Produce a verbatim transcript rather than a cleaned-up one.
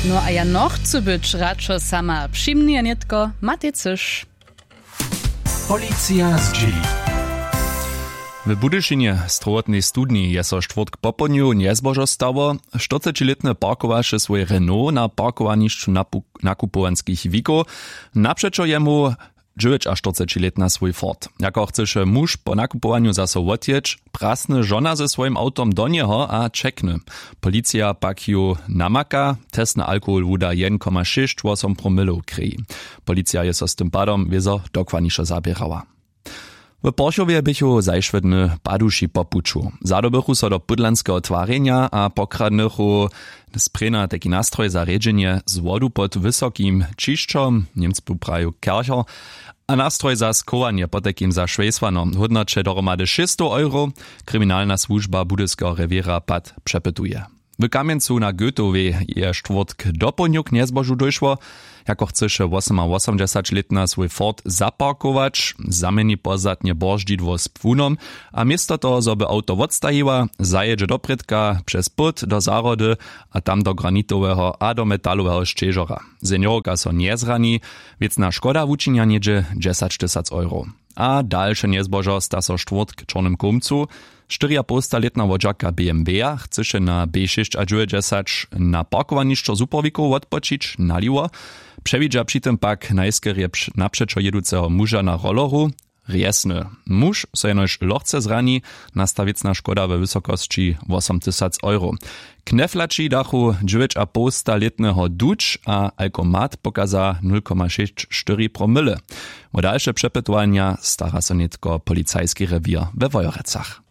No a ja nochcu być radšo sama přimnije nětko matej cyš. Policija zdźěli. W budyšinje strowotnej studni je so štwórtk popołdnju njezbožo stało. Štyrcećilětny parkowaše swój renault na parkowanišću napu- nakupowanskich wikow. Napřećo jemu dźewjećaštyrcećilětna swój ford. Jako chcyše muž po nakupowanju zaso wotjěć, prasny žona ze swojim awtom do njeho a ćekny. Policija pak ju namaka. Testny alkohol wuda jedyn koma šěsć wosom promylow krěji. Policija je so z tym padom wězo dokładnišo zaběrała. W porchowje běchu zašłe dny paduši po puću. Zadobychu so do pudlanskeho twarjenja a pokradnychu sprěna tajki nastroj za rjedźenje z wodu pod wysokim ćišćom, němcu praju kercher, a nastroj za schowanje potajkim za šwejsłano w hódnoće dohromady šěsćstow euro. Kriminalna słužba budyskeho rewěra pad přepytuje. W kamjencu na goetowej je štwórtk dopołdnju k njezbožu dóšło. Jako chcyše wosomawosomdźesaćlětna swój ford zaparkować, zaměni pozdatnje bordźidło z płunom a město toho zo by awto wotstajiła, zajědźe doprědka přez płód do zahrody a tam do granitoweho a do metaloweho šćežora. Seniorka so njezrani. Wěcna škoda wučinja něhdźe dźesaćtysac euro. A dalše njezbožo sta so štwórtk w čornym kołmcu. Štyriapołstalětna wodźerka bmw-a chcyše na b šěsćadźewjećdźesać na parkowanišćo zupowikow wotpočić naliwo. Přewidźa při tym pak najskerje napřećo jěduceho muža na rolleru. Rjesny muž so jenož lochce zrani. Nasta wěcna škoda we wysokosći wosomtysac euro. Kneflaći dachu dźewjećapołstalětneho duć a alkomat pokaza nul koma šěsć štyri promyle. Wo dalše přepytowanja stara so nětko policajski rewěr we wojerecach.